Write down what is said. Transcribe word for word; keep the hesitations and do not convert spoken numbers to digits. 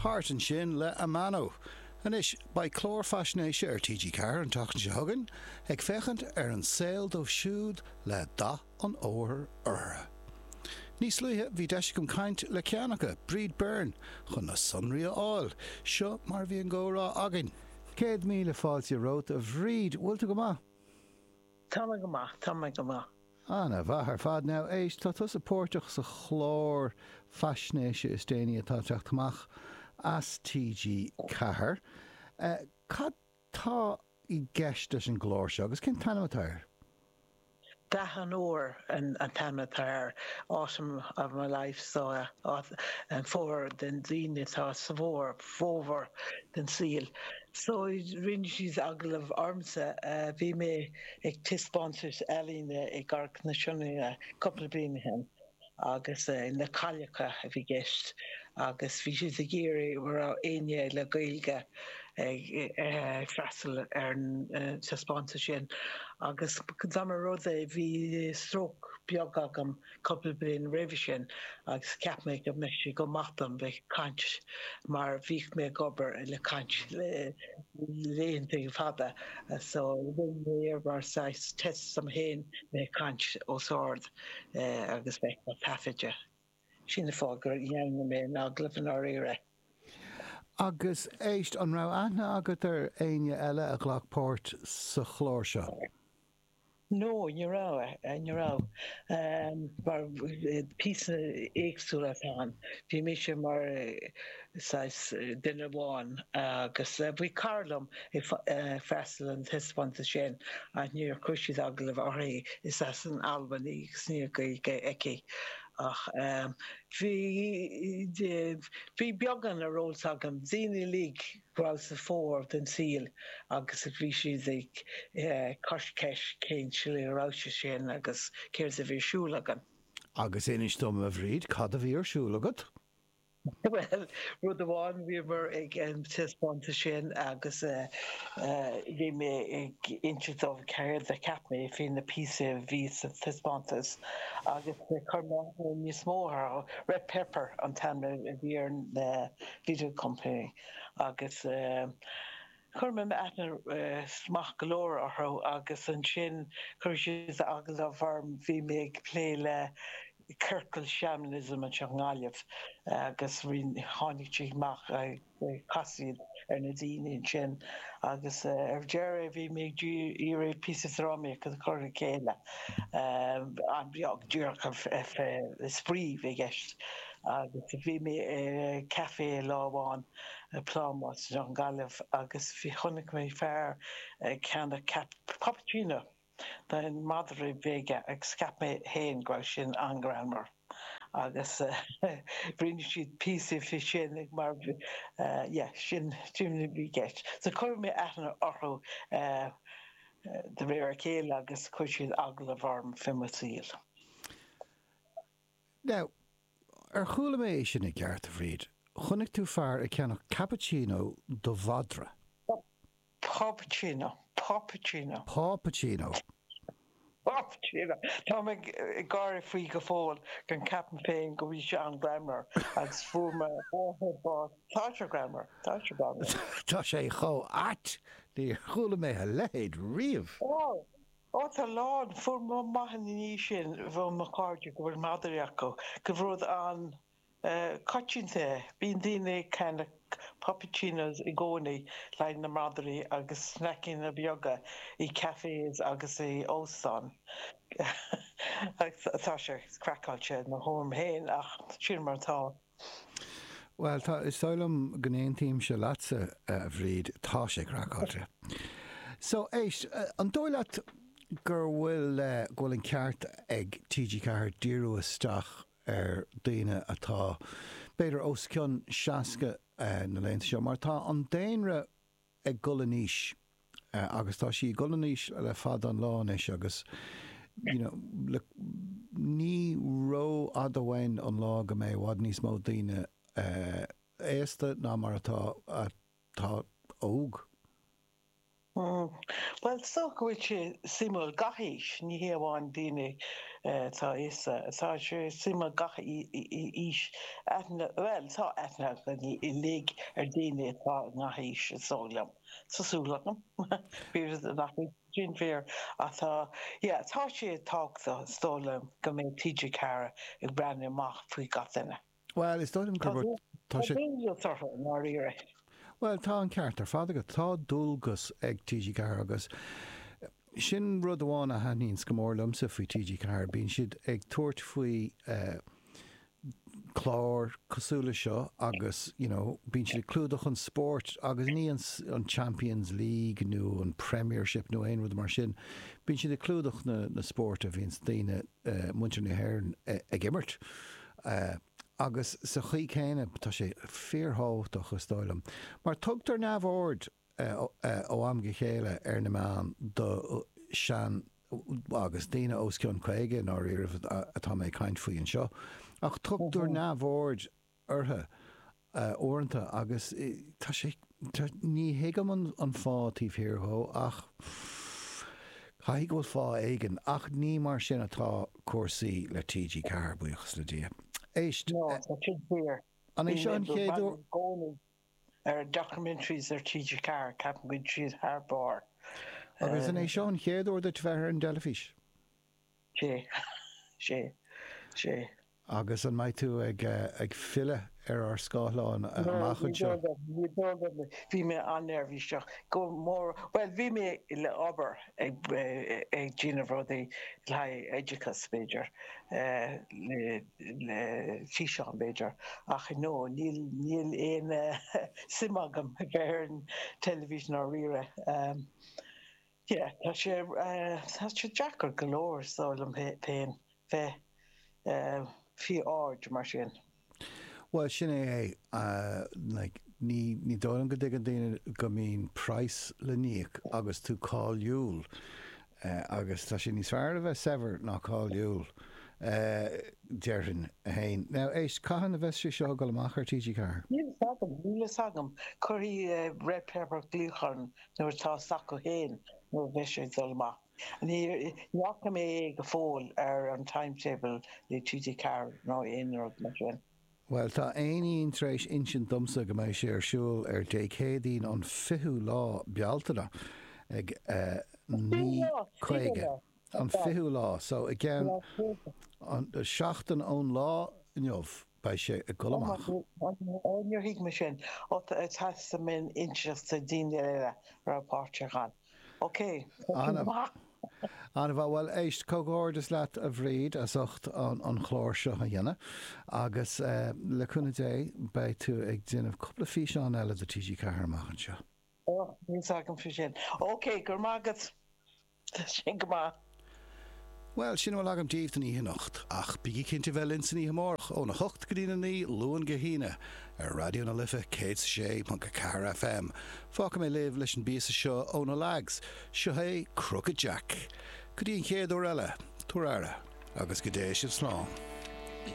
Heart ansin le Amano. Anois, beidh clár faisnéise ar TG Ceathair an tseachtain seo chugainn ag féachaint ar an saol dóibh siúd le dath an fhómhair orthu. Níos luaithe bhí deis agam caint le ceann acu, Bríd Byrne, chun na sonraí a fháil. Seo mar a bhí an comhrá againn. Céad míle fáilte romhat, a Bhríd, bhfuil tú go maith? Tá mé go maith, tá mé go maith. Ana-mhaith ar fad. Now, éist, tá tusa páirteach sa chlár faisnéise is déanaí atá ag teacht amach as TG Ceathair. Cad tá i gceist leis an gclár seo agus cén t-ainm atá air? Dath an Fhómhair an t-ainm atá air, Autumn of my life, so an fómhar den daoine atá sa bhfómhar, fómhar den saol. So rinne siad agallamh ormsa, bhí mé ag taispeántas ealaíne i gCarraig na Sionainne cúpla bliain ó shin agus na cailleacha a bhí i gceist agus bhí siad ag iarraidh an raibh éinne le Gaeilge ag freastal ar an taispeántas sin agus dá mba rud é bhí stróc beag agam cúpla bliain roimhe sin agus cheap mé go mbeadh sé go maith dom bheith ag caint mar bhíodh mé ag obair le caint laethanta fada so rinne mé é mar saghas test dom féin bheith ag caint os ard agus bheith á taifeadadh. Sin an fáth gur dheimhnigh mé an agallamh i ndáiríre. Agus éist, an raibh aithne agat ar éinne eile a ghlac páirt sa chlár seo? No, ní raibh, ní raibh. Mar píosa éagsúla atá ann. Bhí mise mar saghas duine amháin agus bhí cara liom ag freastal an taispeántas sin ach níor chuir siad agallamh uirthi. Is as an Albain í agus níl Gaeilge aici. Ach bhí, bhí beagán ar eolas agam, daoine uilig go raibh sa fómhar den saol agus bhí siad ag cur ceist cén tslí a raibh sé sin agus céard a bhí ar siúl againn. Agus inis dom, a Bhríd, cad a bhí ar siúl agat? Bhuel, rud amháin, bhíomar ag an taispeántas sin agus bhí mé ag inse dóibh céard a cheap mé faoi na píosaí a bhí sa taispeántas agus chuir mé aithne níos mó orthu. Red Pepper an t-ainm a bhí ar an video company. Agus chuir mé aithne maith go leor orthu agus ansin chuir siad agallamh orm, bhí mé ag plé le ciorcal shamanism anseo i nGaillimh agus tháinig siad amach, chas siad ar na daoine ansin agus ar deireadh bhí mé ag iarraidh píosa drámaíochta a chur le chéile, an-bheag, díreach spraoi a bhí i gceist agus bhí mé i café lá amháin i bPlámás anseo i nGaillimh agus bhí, chonaic mé fear ag ceannach puppuccino don mhadra a bhí aige agus cheap mé féin go raibh sin an-ghreannmhar agus rinne siad píosa faoi sin mar yeah sin sin a bhí i gceist. So chuir mé aithne orthu de réir a chéile agus chuir siad agallamh orm fé mo saol. Now, ar chuala mé é sin i gceart, a Bhríd? Chonaic tú fear ag ceannach cappuccino do mhadra? Puppuccino. Puppuccino. Puppuccino. Puppuccino. Tá mé ag gáire faoi go fóill go gceapaim féin go bhfuil sé an-ghreannmhar agus fuair mo mháthair bás. Tá sé greannmhar. Tá sé greannmhar. Tá sé chomh ait! Níor chuala mé a leithéid riamh. Ó! Ó tá a lán. Fuair mé amach ina dhiaidh sin ó mo chairde go bhfuil madraí acu, gur rud an-choitianta é. Bíonn daoine ag ceannach puppuccinos i gcónaí le haghaidh na madraí agus sneaiceanna beaga i cafés agus i óstáin. Tá sé craiceáilte i mo thuairim féin ach sin mar atá. Bhuel, tá, is dóigh liom go n-aontaímse leatsa, a Bhríd, tá sé craiceáilte. So, éist, an dóigh leat gur bhfuil, go bhfuil an ceart ag TG Ceathair díriú isteach ar daoine atá, b'fhéidir, os cionn seasca na laethanta seo, mar tá an daonra ag dul in aois agus tá sí ag dul in aois le fada an lá anois agus you know le ní ró-fhada uainn an lá go mbeidh i bhfad níos mó daoine aosta ná mar atá atá óg. Bhuel, is dócha go bhfuil sé suimiúil gach aois, ní hé amháin daoine atá aosta, tá sé suimiúil gach aois, aithne, bhuel, tá aithne againn uilig ar daoine atá i ngach aois, is dóigh liom. Tá súil agam, b'fhéidir nach bhfuil sin fíor, ach tá, yeah, tá sé tábhachtach, is dóigh liom, go mbeidh TG Ceathair ag breathnú amach faoi gach duine. Bhuel, is dóigh liom Tá gur, tá tá sé. dualgas orthu, i ndáiríre. Bhuel, tá an ceart ar fad agat. Tá dualgas ag TG Ceathair agus sin rud amháin a thaitníonns go mór liomsa faoi TG Ceathair. Bíonn siad ag tabhairt faoi cláir cosúil le seo agus, you know, bíonn siad ag clúdach an spóirt agus ní an, an Champions League nó an Premiership nó aon rud mar sin. Bíonn siad ag clúdach na, na spóirt a bhíonns daoine, muintir na hÉireann ag imirt. Agus sa chaoi chéanna, tá sé fíorthábhachtach, is dóigh liom, mar tugtar neamhaird ó am go chéile ar na meáin do shean agus daoine os cionn caoga i ndáiríribh atá mé ag caint faoi anseo, ach tugtar neamhaird orthu uaireanta agus tá sé, ní thuigim an fáth taobh thiar dhó ach caithfidh go bhfuil fáth éigin, ach ní mar sin atá cúrsaí le TG Ceathair, buíochas le Dia. Éist, No, tá sin fíor. an é Bhí seo mé an ag chéad breathnú uair? i gcónaí ar documentaries ar TG Ceathair, ceapaim go bhfuil siad thar barr. Agus an é seo an chéad uair duit bheith ar an dteilifís? Sé, sé, sé. Agus an mbeidh tú ag ag filleadh ar ár scáileáin No, amach ní anseo? dóigh liom, ní dóigh liom. Bhí mé an-neirbhíseach, go mór, bhuel, bhí mé le obair ag ag déanamh rudaí le haghaidh oideachas, b'fhéidir, le le físeán, b'fhéidir, ach no, níl níl aon suim agam a bheith ar an teilifís ndáiríre. Yeah, tá sé tá sé deacair go leor, is dóigh liom féin, bheith faoi aird mar sin. Bhuel, sin é é. Like, ní, ní dóigh liom go dtuigeann daoine go mbíonn praghas le n-íoc agus tú cáiliúil. Agus tá sé níos fearr a bheith saibhir ná cáiliúil, déarfainn féin. Now, éist, cathain a bheas sé seo ag dul amach ar TG Ceathair? Níl a fhios agam, níl a fhios agam. Cuirfidh Red Pepper glaoch orm nuair atá a fhios acu féin nuair a bheidh sé ag dul amach. Ní fhaca mé é go fóill ar an timetable le TG Ceathair nó aon rud mar sin. Bhuel, tá éinín tar éis insint domsa go mbeidh sé ar siúl ar Dé Céadaoin an fichiú lá Bealtaine ag naoi caoga. An fichiú lá, so i gceann seachtain ón lá inniu beidh sé ag dul amach. Ó, níor thuig mé sin. Ó, theastaigh mé inseacht do daoine eile a raibh páirteach ann. Ok, tá sin go maith. An-mhaith. Bhuel, éist, comhghairdeas leat, a Bhríd, as ucht an chlár seo a dhéanamh agus le cúnamh Dé beidh tú ag déanamh cúpla físeán eile do TG Ceathair amach anseo. Ó, níl fhios agam faoi sin. Ok, go raibh maith agat. Tá sin go maith. Bhuel, sin a bhfuil agam daoibh don oíche anocht, ach bígí cinnte bheith linn san oíche amárach, óna hocht go dtína naoi, Luan go hAoine, ar Raidió na Life céad is a sé ponc a ceathair FM. Fágfaidh mé libh leis an bpíosa seo ó na Lags, seo é Crooked Jack. Go dtí an chéad uair eile, tabhair aire, agus go dté sibh slán.